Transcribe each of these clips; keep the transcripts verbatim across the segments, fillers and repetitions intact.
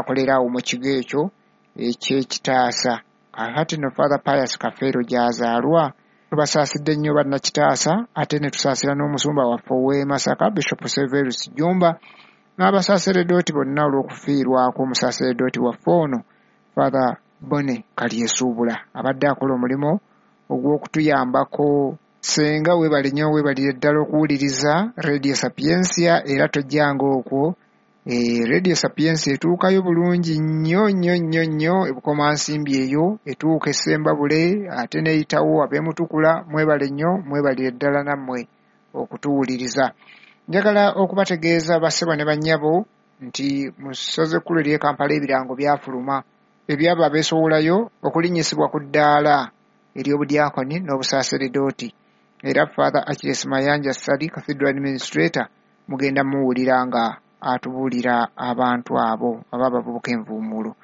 Akolera awo mu kigo ekyo eky'Ekitaasa. Kaakati nno Father Pius Kafeero gy'azaalwa. Tubasaasidde nnyo bannakitaasa, ate ne tusaasira n'omusumba waffe ow'e Masaka, Bishop Severus Jjumba, n'abasaaseredooti bonna olw'okufiirwako omusaaseredooti waffe ono, Father Bonne Kalyesuubula, abadde akola omulimu ogw'okutuyambako. Ssenga weebale nnyo, weebalire ddala okuwuliriza Radio Sapientia, era tojjanga okwo. E, Radio Sapientia etuukayo bulungi nnyo nnyo nnyo nnyo ebukomansimbi eyo, etuuka Essembabule ate n'eyitawo ab'emutukula. Mwebale nnyo, mwebalire ddala nammwe okutuwuliriza. Njagala okubategeeza bassebo ne bannyabo nti mu ssaza ekkulu ery'e Kampala ebirango byafuluma ebyabo abeesowolayo okulinnyisibwa ku ddaala ery'obudyakoni n'obusaaseredooti. Era Father Achilles Mayanja Ssali, Cathedral Administrator, mugenda muwulira nga atubuulira abantu abo aba abavubuka envuumuulo.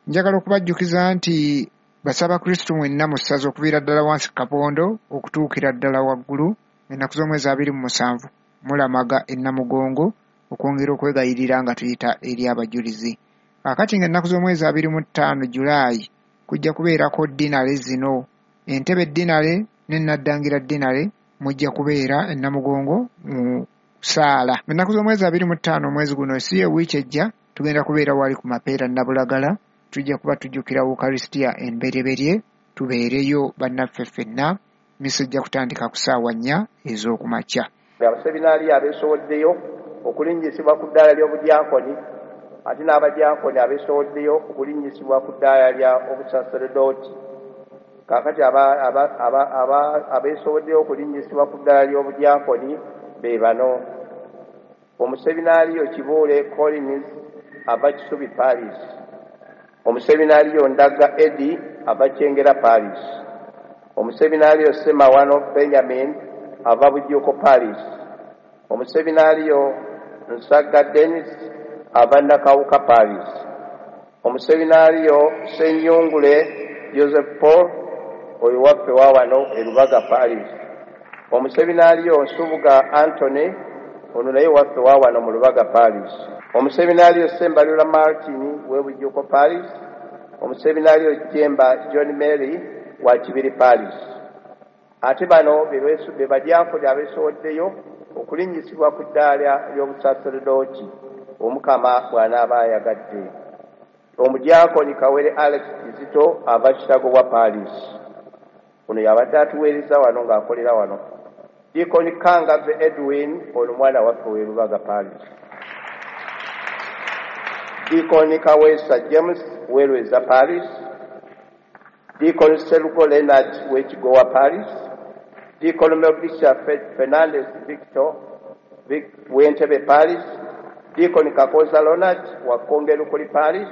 Njagala okubajjukiza nti basaba Kristo mwenna mu ssaza okuviira ddala wansi ku kabondo okutuukira ddala waggulu, ennaku z'omwezi abiri mu musanvu mulamaga e Namugongo okwongera okwegayirira nga tuyita eri abajulizi. Kaakati ng'ennaku z'omwezi abiri mu ttaano Julaayi kujja kubeerako ddinale zino, Entebe ddinale ne Naddangira ddinale, mujja kubeera e Namugongo mu ssaala. Ennaku z'omwezi abiri mu ttaano omwezi guno, si ye wiiki ejja, tugenda kubeera wali ku Mapeera Nabulagala, tujja kuba tujjukira Ukaristia embereberye, tubeereyo bannaffe ffenna. Misa ejja kutandika ku ssaawa nnya ez'okumakya. Abaseminaari abeesowoddeyo okulinnyisibwa ku ddaala ly'obudyakoni, ate n'abadyakoni abeesowoddeyo okulinnyisibwa ku ddaala lya obusaseredooti. Kaakati abeesowoddeyo okulinnyisibwa ku ddaala ly'obudyakoni be bano: omuseminaariyo Kibuule Collins ava Kisubi Paris, omuseminaariyo Ndaga Eddie ava Kyengera Paris, omuseminaariyo Ssemawano Benjamin ava Bujuuko Paris, omuseminaariyo Nsagga Dennis ava Nakawuka Paris, omuseminaariyo Ssenyungule Joseph Paul oyo waffe wa wano e Lubaga Paris, omuseminaariyo Nsubuga Anthony ono naye waffe wa wano mu Lubaga Paris, omuseminaariyo Ssembalula Martin w'e Bujuuko Paris, omuseminaariyo Jemba John Mary wa Kibiri Paris. Ate bano be badyakoni abeesowoddeyo okulinnyisibwa ku ddaala ly'obusaseredooti Omukama bw'anaaba ayagadde. Omudyakoni Kawere Alex Kizito ava Kitagobwa Paris, ono yabadde atuweereza wano ng'akolera wano. Dikoni Kangave Edwin ono mwana waffe w'e Lubaga Paris. Dikoni Kaweesa James w'e Paris, Dikoni Serugo Leonard w'e Kigowa Paris, Dikoni Melkisha Fernandez Victor w'e Ntebe Paris, Dikoni Kakoza Leonard wa Kongerukuli Paris,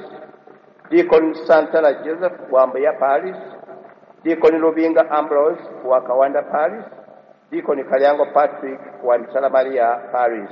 Dikoni Santana Joseph wa Mbuya Paris, Dikoni Lubinga Ambrose wa Kawanda Paris, Dikoni Kalyango Patrick wa Mitala Maria Paris.